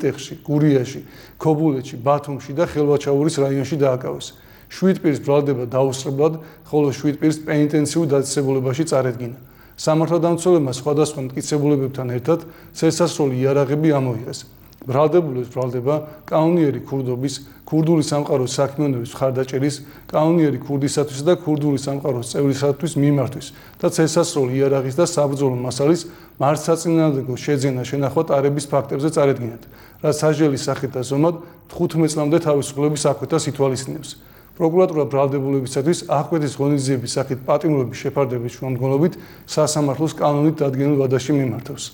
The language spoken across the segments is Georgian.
ტეხში, გურიაში, ქობულეთში, ბათუმში და ხელვაჩაურის რაიონში დააკავეს. 7 პირის ბრალდება დაუსწრებლად, ხოლო 7 პირს პენიტენციურ დაწესებულებაში წარედგინა. სამართალდამცველებმა სხვადასხვა მტკიცებულებებთან ერთად წესასროლი იარაღები ამოიღეს. ბრალდებულებს ბრალდება კანონიერი ქურდობის, ქურდული სამყაროს საქმიანობის მხარდაჭერის, კანონიერი ქურდისათვის და ქურდული სამყაროს წევრისათვის მიმართვის და წესასროლი იარაღის და საბრძოლო მასალის მართლსაწინააღმდეგო შეძენა შენახვა ტარების ფაქტებზე წარედგინათ, რაც სასჯელის სახით და ზომად 15 წლამდე თავისუფლების აკვეთას ითვალისწინებს. პროკურატურა ბრალდებულებისათვის აღკვეთის ღონისძიების სახით პატიმრობის შეფარდების შუამდგომლობით სასამართლოს კანონით დადგენილ ვადაში მიმართავს.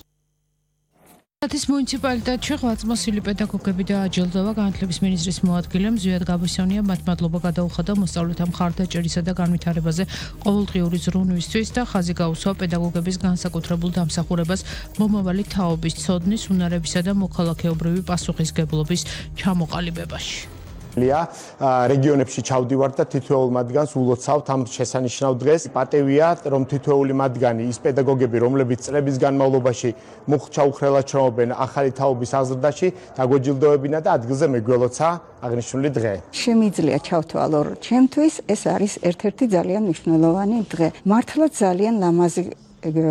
Ის მუნიციპალიტეტში ღვაწლმოსილი პედაგოგები და აჯილდოვა განათლების მინისტრის მოადგილემ ზვიად გაბისონია მათ მადლობა გადაუხადა მოსწავლეთა მხარდაჭერისა და განვითარებაზე ყოველდღიური ზრუნვისთვის და ხაზი გაუსვა პედაგოგების განსაკუთრებულ დამსახურებას მომავალი თაობის ცოდნის, უნარებისა და მოქალაქეობრივი პასუხისგებლობის ჩამოყალიბებაში. რეგიონებში ჩავდივართ და თითოეულ მათგანს ულოცავთ ამ შესანიშნავ დღეს. პატევია, რომ თითოეული მათგანი ის პედაგოგები, რომლებიც წლების განმავლობაში მუხჩაუხრელად ჩრომობენ ახალი თაობის აზრდაში, დაგვეჯილდოებინა და ადგილზე მეგველოცა აღნიშნული დღე. შემიძლია ჩავთვალო, რომ ჩემთვის ეს არის ერთ-ერთი ძალიან მნიშვნელოვანი დღე. მართლა ძალიან ლამაზი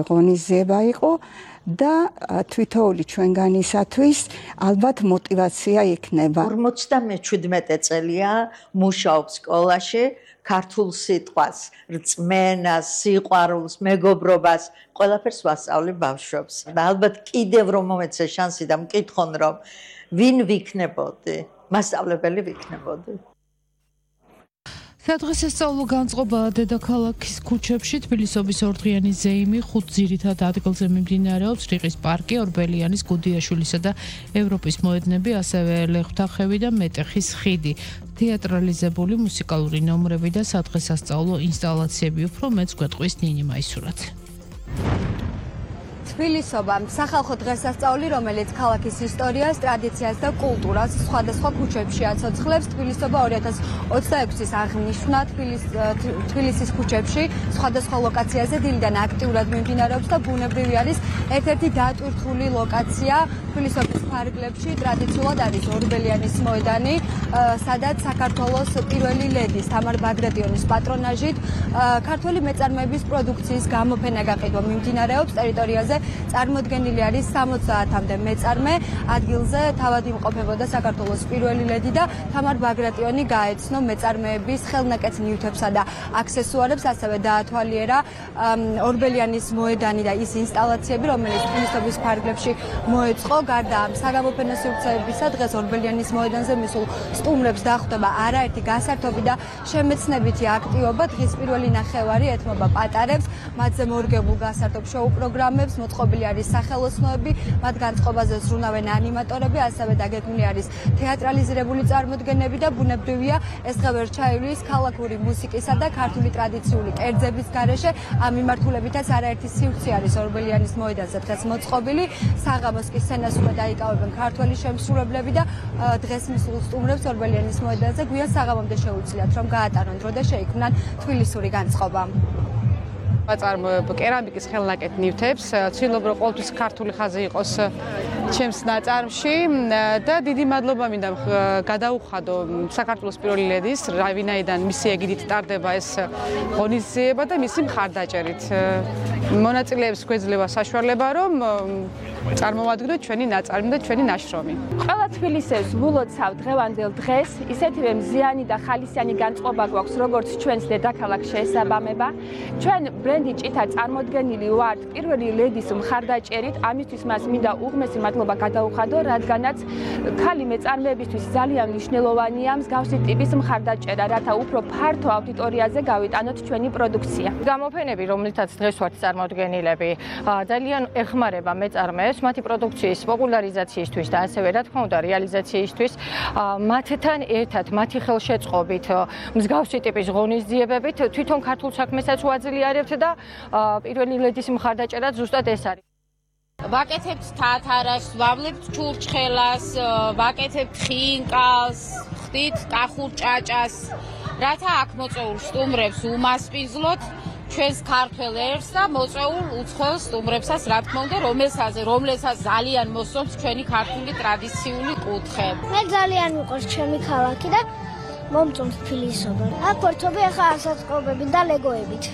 ღონისძიება იყო. და თვითოული ჩვენგანისათვის ალბათ мотивация იქნება. 57 წელია მუშაობს სკოლაში, ქართულ სიტყვას, რწმენას, სიყვარულს, მეგობრობას, ყველაფერს ვასწავლებ ბავშვებს. და ალბათ კიდევ რომ მომეცე შანსი და მკითხონ რომ ვინ ვიქნებოდი, მასწავლებელი ვიქნებოდი. სადღესასწაულო განწყობა დედაქალაქის ქუჩებში თბილისობის ორდღიანი ზეიმი 5 ძირითად ადგილზე მიმდინარეობს რიყის პარკი, ორბელიანის, გუდიაშვილისა და ევროპის მოედნები, ასევე ლეღვთახევი და მეტეხის ხიდი. თეატრალიზებული მუსიკალური ნომრები და სადღესასწაულო ინსტალაციები. უფრო მეც გვეტყვის ნინი მაისურაძე. თბილისობა სახალხო დღესასწაული, რომელიც ქალაქის ისტორიას, ტრადიციას და კულტურას სხვადასხვა ქუჩებში აცოცხლებს. თბილისობა 2026-ის აღნიშვნა თბილისის ქუჩებში სხვადასხვა ლოკაციაზე დილიდან აქტიურად მიმდინარეობს და ბუნებრივი არის ერთ-ერთი დატვირთული ლოკაცია თბილისობის ფარგლებში. ტრადიციულად არის ორბელიანის მოედანი, სადაც საქართველოს პირველი ლედის თამარ ბაგრატიონის პატრონაჟით ქართველი მეწარმეების პროდუქციის გამოფენა გაყიდვა მიმდინარეობს. ტერიტორიაზე წარმოდგენილი არის 70-მდე მეწარმე. ადგილზე თავად იმყოფებოდა საქართველოს პირველი ლედი და თამარ ბაგრატიონი გაეცნო მეწარმეების ხელნაკეთ ნივთებსა და აქსესუარებს, ასევე დაათვალიერა ორბელიანის მოედანი და ის ინსტალაციები, რომელიც თბილისობის ფარგლებში მოეწყო. გარდა ამ საგამოფენო სივრცეებისა, დღეს ორბელიანის მოედანზე მისულ სტუმრებს დახვდება არაერთი გასართობი და შემეცნებითი აქტივობა. დღის პირველი ნახევარი ეთმობა პატარებს, მათზე მორგებულ გასართობ შოუ პროგრამებს, მოწყობილი არის სახელოსნოები, მათ განწყობაზე ზრუნავენ ანიმატორები, ასევე დაგეგმილი არის თეატრალიზირებული წარმოდგენები და ბუნებრივია ეს დღე ვერ ჩაივლის ქალაქური მუსიკისა და ქართული ტრადიციული კერძების გარეშე. ამ მიმართულებითაც არაერთი სივრცე არის ორბელიანის მოედანზე დღეს მოწყობილი. საღამოს კი სცენას უკვე დაიკავებენ ქართველი შემსრულებლები და დღეს მისულ სტუმრებს ორბელიანის მოედანზე გვიან საღამომდე შეუძლიათ რომ გაატარონ დრო და შეიქმნან თბილისური განწყობა. ვაწარმოებ კერამიკის ხელნაკეთ ნივთებს, ცდილობ რომ ყოველთვის ქართული ხაზი იყოს ჩემს ნაწარმში და დიდი მადლობა მინდა გადაუხადო საქართველოს პირველი ლედის, ვინაიდან მისი ეგიდით ტარდება ეს ღონისძიება და მისი მხარდაჭერით. მონაწილეებს გვეძლევა საშუალება რომ წარმოვადგინოთ ჩვენი ნაწარმი და ჩვენი ნაშრომი. ყველა თბილისელს ვულოცავ დღევანდელ დღეს, ისეთივე მზიანი და ხალისიანი განწყობა გვაქვს, როგორც ჩვენს დედაქალაქს შეესაბამება. ჩვენ ბრენდი ჭითა წარმოდგენილი ვართ პირველი ლედის მხარდაჭერით, ამისთვის მას მინდა უღმესი მადლობა გადაუხადო, რადგანაც ქალი მეწარმეებისთვის ძალიან მნიშვნელოვანია მსგავსი ტიპის მხარდაჭერა, რათა უფრო ფართო აუდიტორიაზე გავიტანოთ ჩვენი პროდუქცია. გამოფენები, რომლითაც დღეს ვართ წარმოდგენილები, ძალიან ეხმარება მეწარმეებს მათი პროდუქციის პოპულარიზაციისთვის და ასევე რა თქმა უნდა რეალიზაციისთვის. მათთან ერთად, მათი ხელშეწყობით, მსგავსი ტიპის ღონისძიებებით თვითონ ქართულ საქმესაც ვაძლიერებთ და პირველი ლედის მხარდაჭერა ზუსტად ეს არის. ვაკეთებთ თათარას, ვავლებთ ჩურჩხელას, ვაკეთებთ ხინკალს, ხდით კახურ ჭაჭას, რათა აქ მოწვეულ სტუმრებს უმასპინძლოთ ჩვენს ქართველ ერს და მოწვეულ უცხოელ სტუმრებსაც, რა თქმა უნდა, რომელსაც ძალიან მოსწონს ჩვენი ქართული ტრადიციული კუთხე. მე ძალიან მიყვარს ჩემი ქალაქი და მომწონს თბილისობა. აქ ვერთობი ახლა ასაწყობებით და ლეგოებით.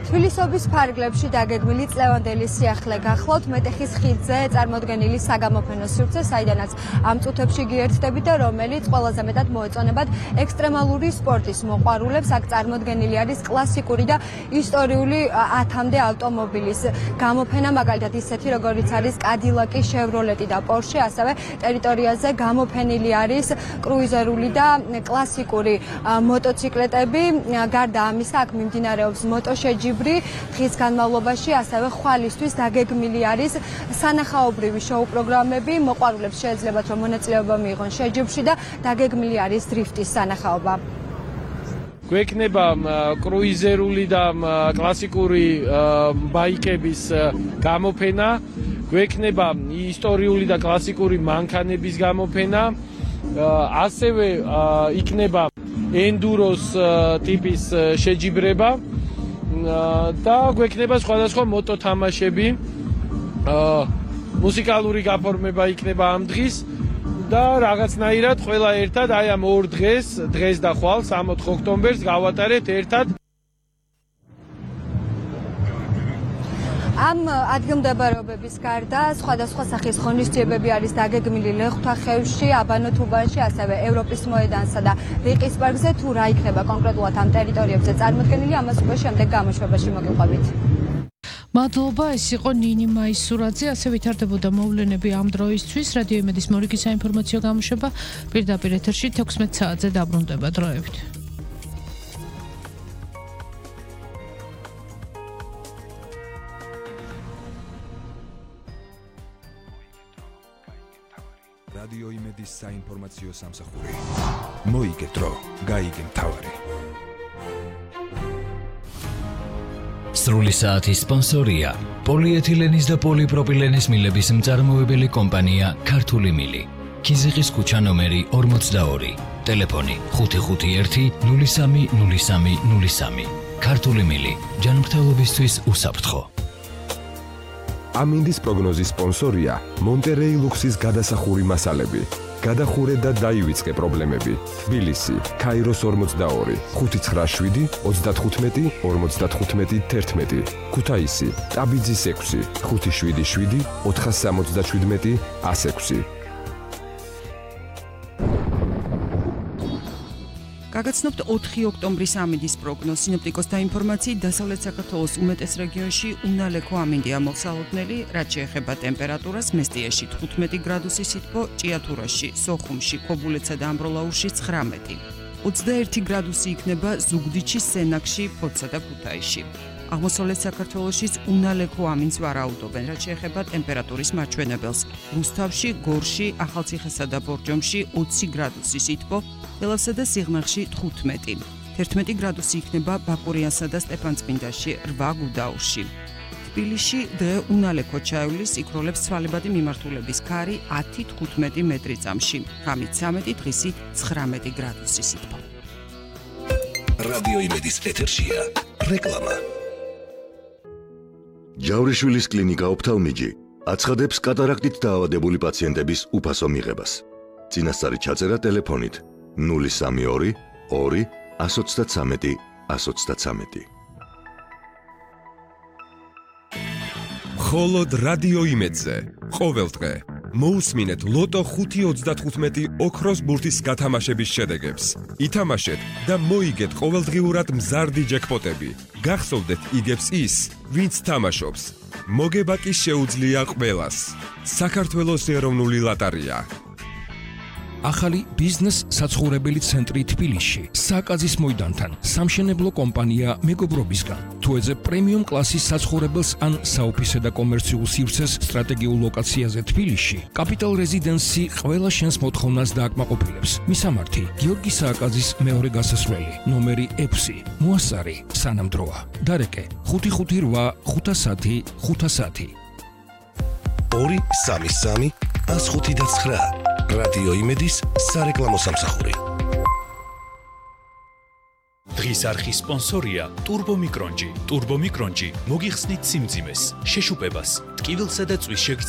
თბილისობის ფარგლებში დაგეგმილი წლევანდელი სიახლე გახლავთ მეტეხის ხიდზე წარმოდგენილი საგამოფენო სივრცე, საიდანაც ამ წუთებში გიერთდებით და რომელიც ყველაზე მეტად მოეწონებათ ექსტრემალური სპორტის მოყვარულებს. აქ წარმოდგენილი არის კლასიკური და ისტორიული 10-მდე ავტომობილის გამოფენა, მაგალითად ისეთი როგორიც არის კადილაკი, შევროლეტი და პორშე, ასევე ტერიტორიაზე გამოფენილი არის კრუიზერული და კლასიკური მოტოციკლეტები. გარდა ამისა, აქ მიმდინარეობს მოტოშეჯიბრი დღის განმავლობაში, ასევე ხვალისთვის დაგეგმილი არის სანახაობრივი შოუ პროგრამები. მოყვარულებს შეეძლებათ რომ მონაწილეობა მიიღონ შეჯიბრში და დაგეგმილი არის დრიფტის სანახაობა. გვექნება კრუიზერული და კლასიკური ბაიკების გამოფენა, გვექნება ისტორიული და კლასიკური მანქანების გამოფენა, ასევე იქნება ენდუროს ტიპის შეჯიბრება და გვექნება სხვადასხვა მოტოთამაშები, მუსიკალური გაფორმება იქნება ამ დღის და რაღაცნაირად ყველა ერთად აი ამ ორ დღეს და ხვალ 3-4 ოქტომბერს გავატარეთ ერთად. ამ ადგილმდებარეობების გარდა სხვადასხვა სახის ღონისძიებები არის დაგეგმილი ლეხვთვახევში, აბანოთუბანში, ასევე ევროპის მოედანსა და რიყის პარკზე. თუ რა იქნება კონკრეტულად ამ ტერიტორიებზე წარმოდგენილი, ამას უკვე შემდეგ გამოშვებაში მოგიყვებით. მადლობა, ეს იყო ნინი მაისურაძე. ასე ვითარდებოდა მოვლენები ამ დროისთვის. რადიო იმედის მორიგი საინფორმაციო გამოშვება პირდაპირ ეთერში 16 საათზე დაბრუნდება. დროებით. რადიო იმედის საინფორმაციო სამსახური. მოიგე დრო, გაიგე მთავარი. სრული საათის სპონსორია პოლიეთილენის და პოლიპროპილენის მილების მწარმოებელი კომპანია ქართული მილი. ქიზიყის ქუჩა ნომერი 42, ტელეფონი 551 03 03 03. ქართული მილი, ჯანმრთელობისთვის უსაფრთხო. ამინდის პროგნოზის სპონსორია მონტერეი ლუქსის გადასახური მასალები. გადახურე და დაივიწყე პრობლემები. თბილისი, ქაიროს 42, 597 35 55 11. ქუთაისი, ტაბიძის 6, 577 477 106. გაგაცნობთ 4 ოქტომბრის ამინდის პროგნოზ. სინოპტიკოსთა ინფორმაციით, დასავლეთ საქართველოს უმეტეს რეგიონში უნალექო ამინდია მოსალოდნელი, რაც შეეხება ტემპერატურას, მესტიაში 15 გრადუსი სითბო, ჭიათურაში, სოხუმში, ქობულეთსა და ამბროლაურში 19. 21 გრადუსი იქნება ზუგდიდში, სენაკში, ფოთსა და ქუთაისში. აღმოსავლეთ საქართველოშიც უნალექო ამინდს ვარაუდობენ, რაც შეეხება ტემპერატურის მაჩვენებელს. რუსთავში, გორში, ახალციხესა და ბორჯომში 20 გრადუსი სითბო, ელავსა და სიღნაღში 15. 11 გრადუსი იქნება ბაკურიანსა და სტეფანწმინდაში, 8 გუდაურში. თბილისში დღე უნალექო ჩაივლის, იქროლებს ცვალებადი მიმართულების ქარი 10-15 მეტრი წამში. ღამით 13, დღისით 19 გრადუსი სითბო. რადიო იმედის ეთერშია რეკლამა. ჯავრიშვილის კლინიკა ოფთალმიჯი აცხადებს კატარაქტით დაავადებული პაციენტების უფასო მიღებას. წინასწარი ჩაწერა ტელეფონით 032 2 123 123. მხოლოდ რადიო იმედზე ყოველდღე მოусმინეთ ლოტო 5.35 ოქროს ბურთის გათამაშების შედეგებს. ითამაშეთ და მოიგეთ ყოველდღიურად მზარდი ჯეკპოტები. გახსოვდეთ იგებს ის, ვინც თამაშობს. მოგება კი შეუძლია ყველას. საქართველოს ეროვნული ლოტარია. ახალი ბიზნეს საცხოვრებელი ცენტრი თბილისში, საკაზის მოედანთან, სამშენებლო კომპანია მეგობრობისგან. თუ ეძებ პრემიუმ კლასის საცხოვრებელს ან საოფისე და კომერციულ სივრცეს სტრატეგიულ ლოკაციაზე თბილისში, კაპიტალ რეზიდენსი ყველა შენს მოთხოვნას დააკმაყოფილებს. მისამართი: გიორგი სააკაძის მეორე გასასვლელი, ნომერი 6, მოასწარი, სანამ დროა. დარეკე: 558 510 510. 233 105 9. რადიო იმედის სარეკლამო სამსახური. დღის არხის სპონსორია ტურბომიკრონჯი. ტურბომიკრონჯი მოგიხსნით სიმძიმეს, შეშუპებას, ტკივილსა და წვის შეგრძნებას